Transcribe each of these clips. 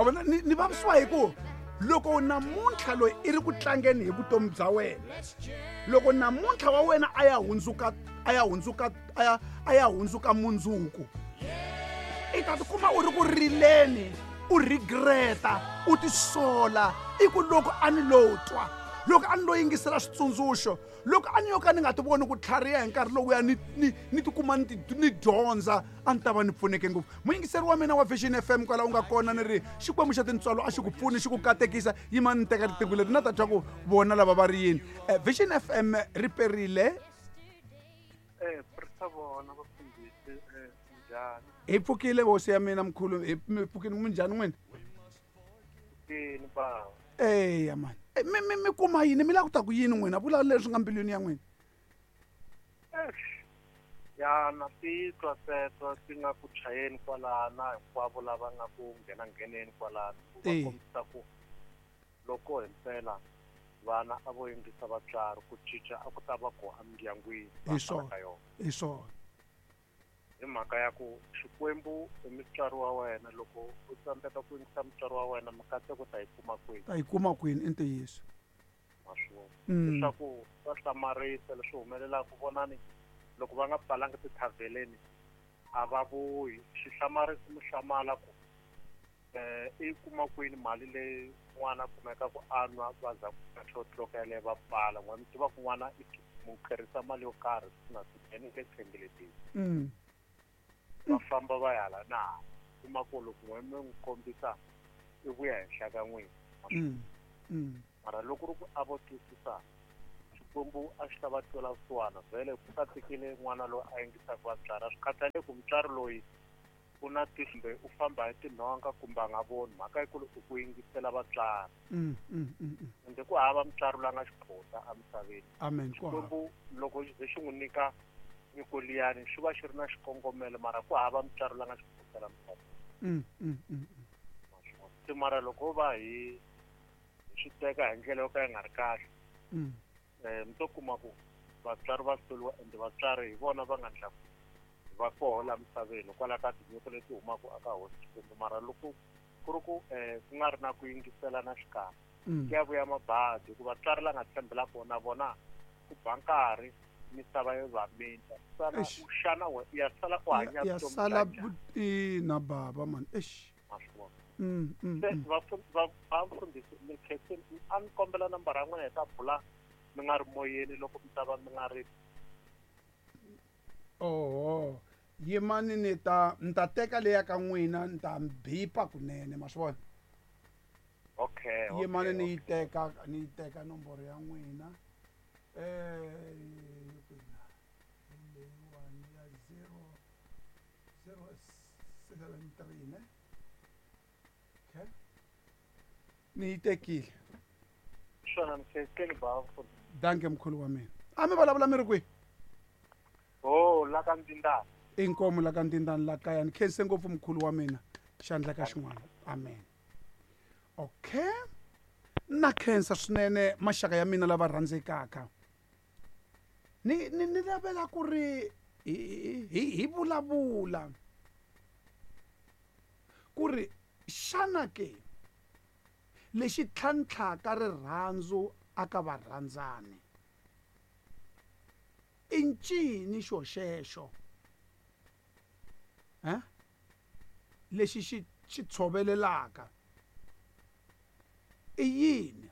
Wa vona ni vavisiwa hi ku loko namuntlha loyi i ri ku tlangeni hi vutomi bya wena, loko namuntlha wa wena a ya hundzuka a ya hundzuka a ya a ya hundzuka mundzuku, i ta tikuma u ri ku rileni, u regreta, u tisola, i ku loko a ni lo twa, loko a ni lo yingisela switsundzuxo, loko a ni yo ka ni nga ti voni ku tlhariha hi nkarhi lowuya ni tikuma ni dyondza, a ni ta va ni pfuneke ngopfu. Muyingiseri wa mina wa Vision FM kwala u nga kona, ni ri Xikwembu xa tintswalo a xi ku pfuni, xi ku katekisa. Yima ni teka riqingho leri na ta twa ku vona lava va ri yini. Vision FM ri perile. Hi pfukile hosi ya mina mkhulu, hi mi pfukile, minjhani n'wina? Eya mani, mi kuma yini, mi lava ku ta ku yini n'wina? Vula leswi nga mbilwini ya n'wina. Ya na titwa teto ti nga ku chayeni kwalana, hinkwavo lava nga ku nghena ngheneni kwalana, ku va kombisa ku loko himpela vana a vo yingisa vatswari, ku cinca a ku ta va ku emindyangwini. Hi swona, hi swona. Hi mhaka ya ku Xikwembu i mutswari wa wena, loko u tsandzeka ku yingisa mutswari wa wena, mikateko ta yi kuma kwini? Ta yi kuma kwini, i ntiyiso. Leswaku swa hlamarisa leswi humelelaka, vonani loko va nga pfalanga tithavheleni a va vuyi. Xi hlamarisi muhlamala ku i kuma kwini mali leyi n'wana a kumeka ku a nwa, va za ku tloka yaleyo va pfala. N'wana mi tiva ku n'wana i mu tirhisa mali yo karhi siku na siku, ene le tshembelekile. Va famba va ya hala na hala, kuma ku loko n'we mi n'wi kombisa i vuya henhla ka n'wina. Mara loko ri ku a vo twisisa, Xikwembu a xi ta va twela vusiwana. Vhele ku katekile n'wana loyi a yingisaka vatswari, a swi khathaleki ku mutswari loyi u na kumbe u famba hi tinhonga kumbe a nga voni, mhaka yikulu i ku yingisela vatswari. Ende ku hava mutswari loyi a nga xiphota emisaveni. Amen. Xikwembu loko xi ze xi n'wi nyika nyiko liyani xi va xi ri na xikongomelo, mara ku hava mutswari loyi a nga xiphota la misaveni. Se mara loko va hi swi teka hi ndlela yo ka yi nga ri kahle, mi to kuma ku vatswari va hluriwa, ende vatswari hi vona va nga ndla va koho la misaveni hikwalaho ka tinyiko leti humaka eka hosi Xikwembu. Mara loko ku ri ku ku nga ri na ku yingisela na xikarhi, ku ya vuya mabadi, hikuva vatswari la nga tshembela kona vona ku ba nkarhi misava yo va minta. Sala u xana we ya sala ku hanya ya sala ina baba man. Eish. Vafundhisi mi khensini, a ni kombela nambara ya n'wina hi ta bula mi nga ri moyeni loko mi ta va mi nga ri. Oho, yimani ni ta ni ta teka leya ka n'wina, ni ta bipa kunene, ma swi vona. Okay. Yimani ni yi teka, ni yi teka nomboro ya n'wina. Leyiwani ya 0073 ne. Okay. Ni yi tekile. Swona ni khensini ba. Danke mkhulu wa mina. A mi vulavula mi ri kwihi? Oh, la ka Ndindani. Inkomu la ka Ndindani la kaya. Ni khense ngopfu mkhulu wa mina. Xandla ka xin'wana. Amen. Okay. Na khensa swinene maxaka ya mina lava rhandzekaka. Ni ni ni lavela ku ri hi vulavula ku ri xana ke lexi tlhantlhaka rirhandzu aka varhandzani i ncini xo xexo? Lexi xi tshovelelaka i yini?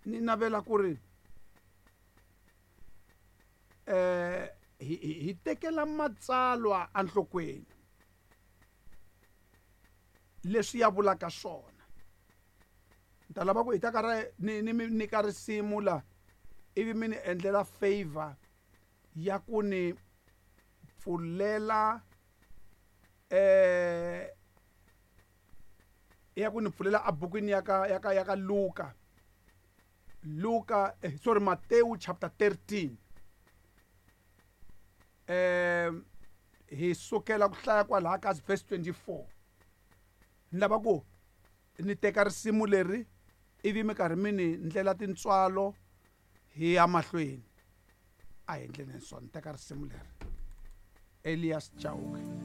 Ni navela ku ri hi tekela matsalwa enhlokweni leswi ya vulaka swona. Ni ta lava ku hi ta ka ra ni mi nyika risimu la, ivi mi ni endlela favor ya ku ni pfulela ya ku ni pfulela ebukwini ya ka ya ka ya ka Luka. Luka sorry, Matthew chapter 13. Hi sukela ku hlaya kwalaha ka verse 24. Ni lava ku ni teka risimu leri ivi mi karhi mi ni ndlela tintswalo hi ya mahlweni. A hi endleni swona, ni teka risimu leri. Elias Chauke.